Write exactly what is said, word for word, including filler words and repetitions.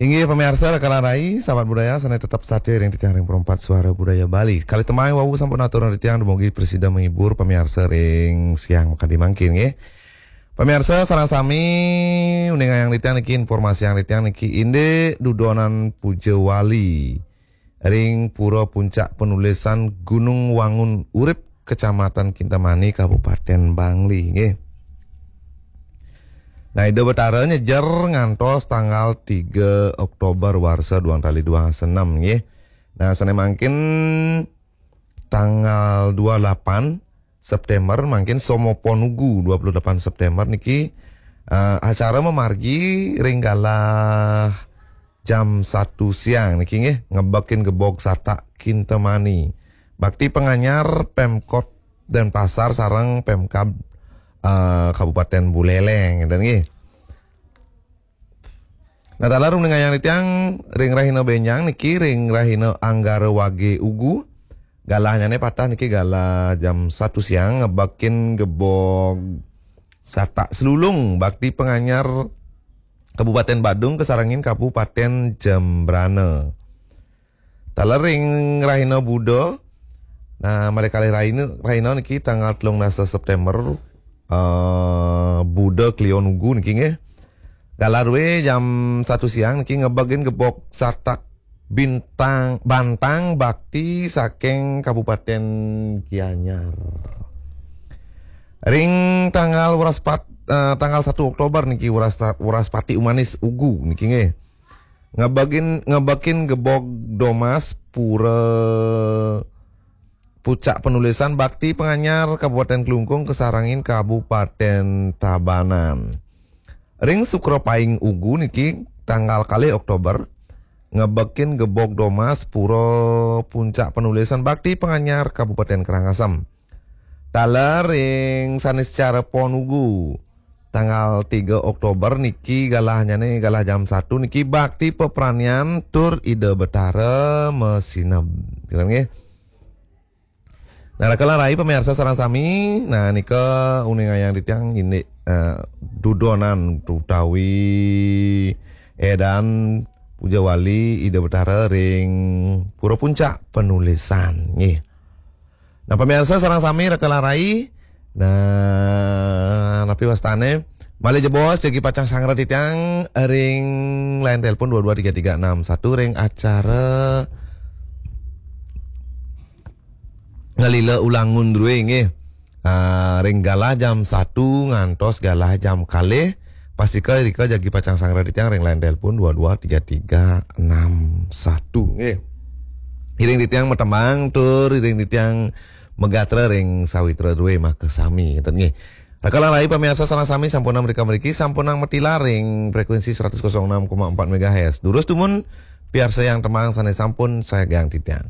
Inggih pamiarsa raka lan rai, sahabat budaya, sané tetep satia ring titiang ring Perempat Suara Budaya Bali. Kalih tembang wau sampun aturang titiang dumugi prasida menghibur pamiarsa ring siang makadi mangkin nggih. Pamiarsa sareng sami, uningayang titiang niki, informasiang titiang niki indik dudonan puja wali ring Pura Puncak Penulisan Gunung Wangun Urip, Kecamatan Kintamani, Kabupaten Bangli nggih. Nah, Ida Betara nyejer ngantos tanggal tiga Oktober warsa duang tali duang senem nggih. Nah, sané mangkin tanggal dua delapan September mangkin Somo Ponugu, dua puluh delapan September niki, eh, acara mamargi ring galah jam satu siang niki nggih, ngebekin Gebog Satak Kintamani. Bakti panganyar Pemkot Denpasar sareng Pemkab, eh, Kabupaten Buleleng, ngéten nggih. Nah, taler uningayang titiang ring rahina bénjang niki, ring rahina Anggara Wagé Ugu, galahnyané pateh niki galah jam satu siang ngebekin Gebog Satak Selulung, bakti panganyar Kabupaten Badung kasarengin Kabupaten Jembrana. Taler ring rahina Buda. Nah, malih kalih rahina, rahina niki tanggal telung dasa September, eh, Buda Kliwon Ugu niki nggih. Galah dué jam satu siang niki ngebekin Gebog Satak Bintang Bantang, bakti saking Kabupaten Gianyar. Ring tanggal Wraspat-, eh, tanggal satu Oktober niki, Wrasta-, Wraspati Umanis Ugu niki nggih. Ngebekin, ngebekin Gebog Domas Pura Puncak Penulisan, bakti panganyar Kabupaten Klungkung kasarengin Kabupaten Tabanan. Ring Sukra Paing Ugu niki tanggal kalih Oktober ngebekin Gebog Domas Pura Puncak Penulisan, bakti panganyar Kabupaten Karangasem. Taler ring Saniscara Pon Ugu tanggal tiga Oktober niki galahnyané galah jam satu niki bakti pepranian tur Ida Betara masineb. Gitu nggih. Nah, raka lan rai pamiarsa sareng sami, nah nika uningayang titiang indik, eh, dudonan utawi édan puja wali Ida Betara ring Pura Puncak Penulisan nggih. Nah, pamiarsa sareng sami raka lan rai. Nah, napi wastané? Malih jebos jagi pacang sanggra titiang ring line telepon dua dua tiga tiga enam satu ring acara Ngalila Ulangun drué nggih. Ah, ring galah jam satu ngantos galah jam kalih. Pastika rika jagi pacang sanggra titiang ring line telepon dua dua tiga tiga enam satu nggih. Iring titiang matembang tur iring titiang magatra ring sawitra drué makasami, ngéten nggih. Raka lan rai pamiarsa sareng sami, sampunang mrika mriki, sampunang matilar ring frekuensi seratus kosong enam koma empat megahertz. Durus dumun piarsayang tembang sané sampun sagiang titiang.